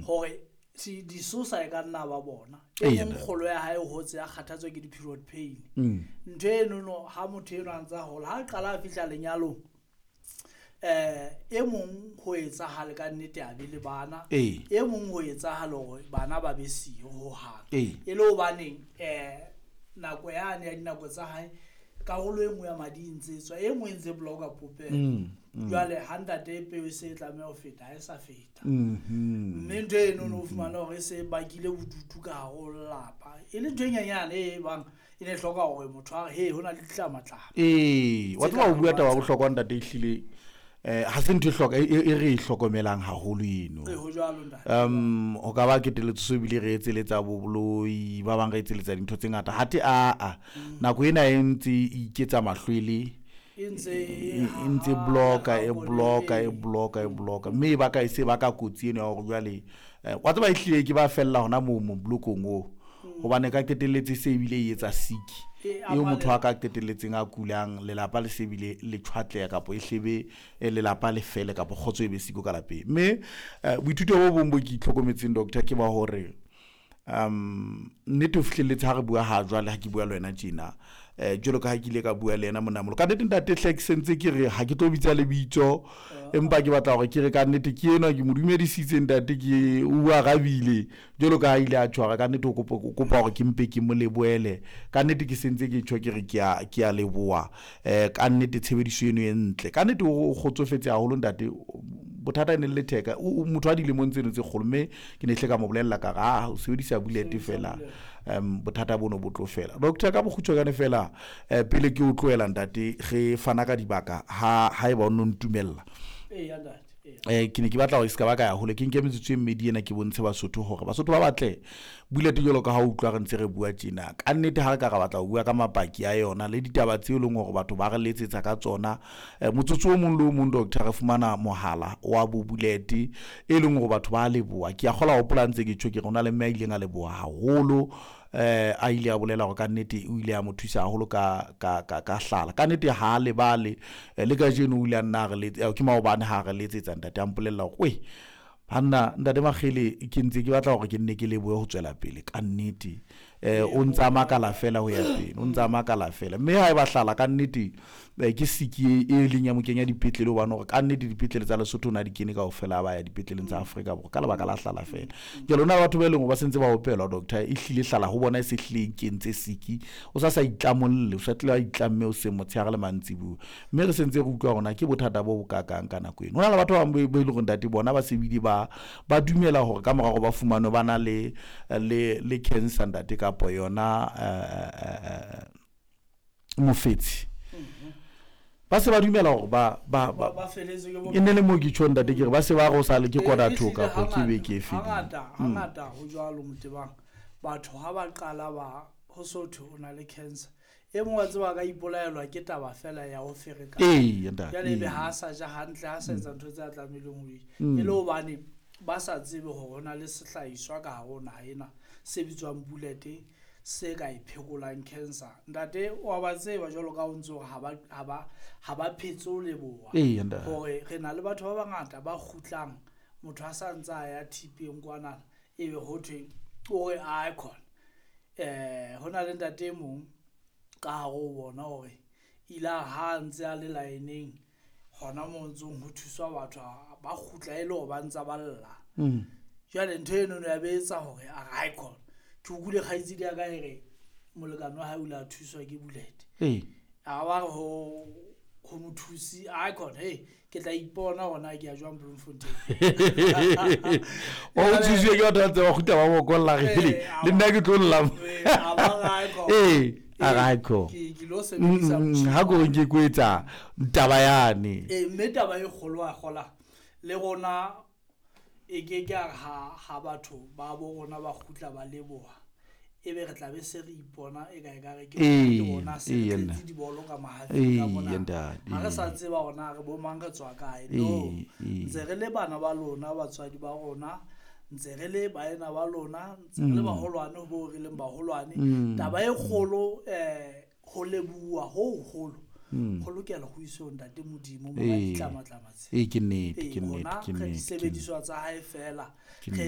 Hore disosa e ka nna ba bona. E mong kgolo ya hae o hotse a kgathatswa ke di-period pain. Ntho enono ha motho eno a ntse a hola, ha qala a fihla lenyalong, e mong ho etsahale ka nnete a be le bana. E mong ho etsahale hore bana ba be siyo hohang. E le hobaneng nako yane ya dinako tsa hae, karolo e nngwe ya madi e ntse tswa, e nngwe e ntse block-a popelo. Jwale ha ntate peo e se e tlameha ho feta, ha e sa feta. Mme ntho eno no fumana hore e se bakile bodutu ka hare ho lelapa. E le ntho e nyenyane e bang e ne hloka hore motho a re, he, ho na le ditlamatlama. Ee, wa tseba o bua taba ya bohlokwa ntate, ehlile ha se ntho e hloka e re e hlokomelang haholo eno. Ee, ho jwalo ntate. Ho ka ba keteletso ebile re etseletsa boloi, ba bang re etseletsa dintho tse ngata. Hathe aa, nako ena e ntse e iketsa mahlwele, E ntse e ntse block-a, e block-a, e block-a, e block-a. Mme e baka e se baka kotsi eno ya hore jwale wa tseba ehlile ke ba fella hona moo mo blokong oo. Hobane ka qetelletse se ebile e etsa sick. Eo motho a ka qetelletseng a kulang, lelapa le se bile le tjhwatleha kapa e hlebe lelapa le fele kapa kgotso e be siko ka lapeng. Mme boithuto bo bong bo ke itlhokometseng doctor ke ba hore nnete o fihlelletse ha re bua ha jwale, ha ke bua le wena tjena, jwalo ka ha ke ile ka bua le yena monna moholo. Ka nnete ntate hle ke sentse ke re ha ke tlo bitsa lebitso, empa ke batla hore ke re ka nnete ke enwa ke mo dumedisitse ntate, ke o arabile jwalo ka ha ile a tshwara. Ka nnete o kopa hore ke mpe ke mo lebohele. Ka nnete ke sentse ke tjho ke re ke a leboha. Ka nnete tshebediso eno e ntle. Ka nnete o kgotsofetse haholo ntate. Bothata e ne le letheka. O motho a dilemong tseno tse kgolo, mme ke ne hle ka mo bolella ka re, ah, o sebedisa bullet fela, bothata bono bo tlo fela. Doctor, ka bokgutshwanyane fela, pele ke o tlohela ntate, re fana ka dibaka ha eba o no ntumella. Eya ntate, eya. Ke ne ke batla hore se ka ba ka ya hole, ke nke metsotso e mmedi ena ke bontshe Basotho hore Basotho ba batle bullet jwalo ka ha o utlwa re ntse re bua tjena. Ka nnete ha re ka ra batla ho bua ka mapaki a yona le ditaba tseo e leng hore batho ba re letsetsa ka tsona, motsotso o mong le o mong doctor re fumana mohala wa bo bullet e leng hore batho ba leboha. Ke a kgola hopola ntse ke tjho ke re ho na le mme a ileng a leboha haholo, a ile a bolela hore ka nnete o ile a mo thusa haholo ka hlala. Ka nnete ha a lebale, le kajeno o ile a nna a re ke maobane ha re letsetsa ntate a mpolella hore, weh, banna ntate Makgele ke ntse ke batla hore ke nne ke lebohe ho tswela pele. Ka nnete, o ntse a makala fela ho ya pele, o ntse a makala fela. Mme ha eba hlala ka nnete, ke siki e leng ya mo kenya dipetlele, hobane hore ka nnete dipetlele tsa Lesotho o na di kene kaofela, ba ya dipetleleng tsa Afrika Borwa ka lebaka la hlala fela. Jwale hona le batho ba e leng hore ba sentse ba opelwa doctor, e hlile hlala ho bona e se hlile e kentse siki, o sa sa itlamolle, o sa tlile a itlamme o seng motshehare le mantsibuya. Mme re sentse re utlwa hore na ke bothata bo bokakang ka nako eno. Ho na le batho ba bang bo e leng hore ntate bona ba se bile ba dumela hore ka mora hore ba fumanwe ba na le cancer ntate kapa yona mofetshe. Ba se ba dumela hore Ba feletswe ke bophelo. e ne le moo ke tjho ntate ke re ba se ba re o sa le ke Ee, kona ehlile thoka kapa ke beke e fedile. Hangata ho jwalo Motebang. Batho ha ba qala ba ho so thwe o na le cancer. E mong wa tseba a ka ipolaelwa ke taba fela ya ho ferekana. Ee, ntate, Jwale ebe ee. ha a sa ja hantle, ha a sa etsa ntho tse a tlamehileng ho di. E le hobane ba sa tsebe hore ho na le sehlahiswa ka hare ho naha ena se bitswang bullet se ka e phekolang cancer. Ntate wa ba tseba jwalo ka o ntse hore ha ba phetse ho leboha. Ee, ntate. Hore re na le batho ba bangata ba kgutlang, motho a sa ntse a ya thipeng kwana, ebe ho thwe o re a khona. Ho na le ntate e mong ka hare ho bona hore ile a ha ntse a le line-eng hona moo ntsong ho thuswa batho ba kgutla e le hore ba ntsa ba lla. Jwale ntho eno ya be etsa hore a re hai khona. Ke utlwile kgaitsedi ya ka e re molekane wa hae o ile a thuswa ke bullet. A ba re ho mothusi, ai khona, hey, ke tla ipona hore na ke ya jwang Bloemfontein. O thuswe ke batho ba ntse ba kgutla ba bokolla re, Ee, a le nna ke tlo lla. Ee, a ba re ai khona. Ee, a re ai khona. Ke lo sebedisa motjhini Ha ko wa nke ko etsa taba yane. Ee, mme taba e kgolo wa kgola le rona e ke ke a re ha batho ba bo rona ba kgutla ba leboha, ebe re tla be se re ipona e ka e ka re ke Ee, ke rona se re ee, tletse nna. dibolo ka mahafing Ee, ka mona. ntate, Ha re sa ee. tseba hore na re bo mang re tswa kae. Ee, No, ee. ntse re le bana ba lona, batswadi ba rona, ntse re le baena ba lona, ntse re le baholwane ho bo re leng baholwane. Taba e kgolo, ho leboha ho hoholo, ho lokela ho iswe ho Ntate Modimo, monga Ee. ditlamatlama tse. Ee, ke nnete, Ee, ke nnete, rona ke re nnete, ke disebediswa tsa hae fela. Ke Re